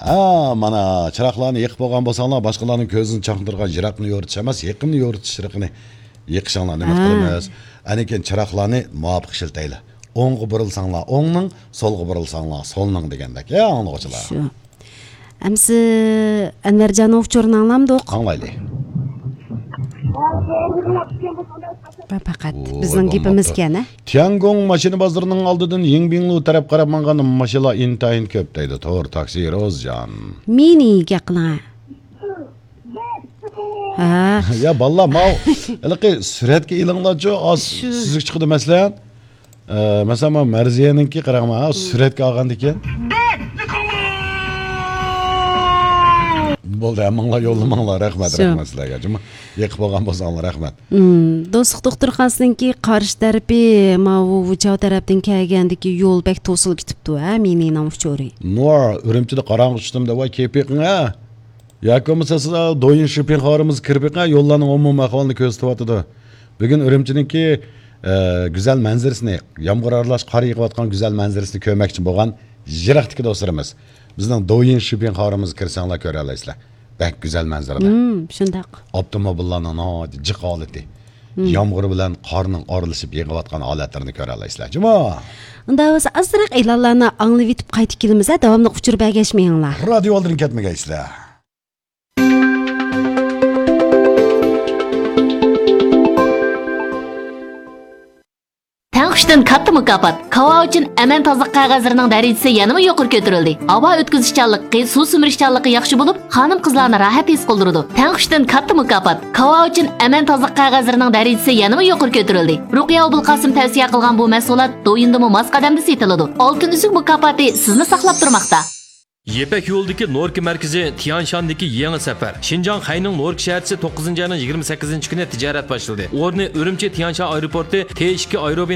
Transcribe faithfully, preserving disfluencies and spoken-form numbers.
ھە، مانا، چىراغلارنى يېقىپ بولغان بولساڭلار، باشقىلارنىڭ كۆزىنى چاقنىتىدىغان يىراقنى يورۇتۇش ئەمەس، يېقىننى يورۇتۇش يىراقنى يېقىشىڭلارنى ئۈمىد ھە. قىلىمىز. ئاندىن كېيىن چىراغلارنى مۇۋاپىق ئىشلىتەيلى. ئوڭغا بۇرۇلساڭلار ئوڭنىڭ، سولغا بۇرۇلساڭلار سولنىڭ دېگەندەك. يا، ئاڭلىغۇچىلار. شۇ. ئەمسە ئەنۋەرجاننىڭ ئۇچۇرىنى ئاڭلامدۇق؟ ئاڭلايلى. پەقەت ئۇ، بىزنىڭ گېپىمىزكەن، ھە؟ تيەنگوڭ ماشىنا بازىرىنىڭ ئالدىدىن يىڭبىڭلۇ تەرەپ قاراپ ماڭغان ماشىنىلار ئىنتايىن كۆپ دەيدۇ تور تاكسى روزجان. مېنى گەپ قىلىڭ. ھە. يا بالىلار، ماۋۇ ھېلىقى سۈرەتكە ئېلىڭلارچۇ، ئاز شۇ. سۈزۈك چىقىدۇ مەسىلەن. ئە، مەسىلەن، مانا مەرزىيەنىڭكى قاراڭ، ھە، سۈرەتكە ئالغاندىكىن. بولدى، ھەممىڭلار يوللىماڭلار، رەھمەت، شۇ. رەھمەت سىلەرگە. جۇمۇ، يېقىپ بولغان بولساڭلار، رەھمەت. مم، دوستلۇق دوختۇرخانىسىنىڭكى قارشى تەرىپى، ماۋۇ ۋۇچاۋ تەرەپتىن كەلگەندىكى يول بەك توسۇلۇپ كېتىپتۇ، ھە، مېنىڭ ئۇچۇرى. نۇر، ئۈرۈمچىدە قاراڭغۇ چۈشتۈم دەپ، ۋاي، كېپىقىڭ، ھە. ياكى بولمىسا سىز دويىن شىپىڭ خارىمىزغا كىرىپ بېقىڭ، يوللارنىڭ ئومۇمىي ئەھۋالىنى كۆرسىتىۋاتىدۇ. بۈگۈن ئۈرۈمچىنىڭكى، ئە، گۈزەل مەنزىرىسىنى، يامغۇر ئارىلاش قار يېغىۋاتقان گۈزەل مەنزىرىسىنى كۆرمەكچى بولغان يىراقتىكى دوستلىرىمىز، بىزنىڭ دويىن شىپىڭ خارىمىزغا كىرسەڭلار كۆرەلەيسىلەر. بەك گۈزەل مەنزىرىلەر. مم، شۇنداق. ئاپتوموبىللارنىڭ ناھايىتى جىق ھالىتى. مم. يامغۇر بىلەن قارنىڭ ئارىلىشىپ يېغىۋاتقان ھالەتلىرىنى كۆرەلەيسىلەر. جۇمۇ. ئۇنداق بولسا ئازراق ئېلانلارنى ئاڭلىۋېتىپ قايتىپ كېلىمىز، ھە، داۋاملىق ئۇچۇر بەرگەشمەيڭلار. رادىيو ئالدىدىن كەتمىگەيسىلەر. تەڭ خۇشتىن كاتتا مۇكاپات. كاۋا ئۈچۈن ئەمەن تازىلىق قەغەزلىرىنىڭ دەرىجىسى يەنىمۇ يۇقىرى كۆتۈرۈلدى. ھاۋا ئۆتكۈزۈشچانلىقى، سۇ سۈمۈرۈشچانلىقى ياخشى بولۇپ، خانىم-قىزلارنى راھەت ھېس قىلدۇرىدۇ. تەڭ خۇشتىن كاتتا مۇكاپات. كاۋا ئۈچۈن ئەمەن تازىلىق قەغەزلىرىنىڭ دەرىجىسى يەنىمۇ يۇقىرى كۆتۈرۈلدى. رۇقىيە ئوبۇلقاسىم تەۋسىيە قىلغان بۇ مەھسۇلات دويىندىمۇ ماس قەدەمدە سېتىلىدۇ. ئالتۇن ئۈزۈك مۇكاپاتى سىزنى ساقلاپ تۇرماقتا. يىپەك يولىدىكى نوركا مەركىزى، تيانشاندىكى يېڭى سەپەر. شىنجاڭ خەينىڭ نوركا شەھەرچىسى توققۇزىنچى ئاينىڭ يىگىرمە سەككىزىنچى كۈنى تىجارەت باشلىدى. ئورنى ئۈرۈمچى تيانشان ئايروپورتى، تې ئىككى ئايروبىن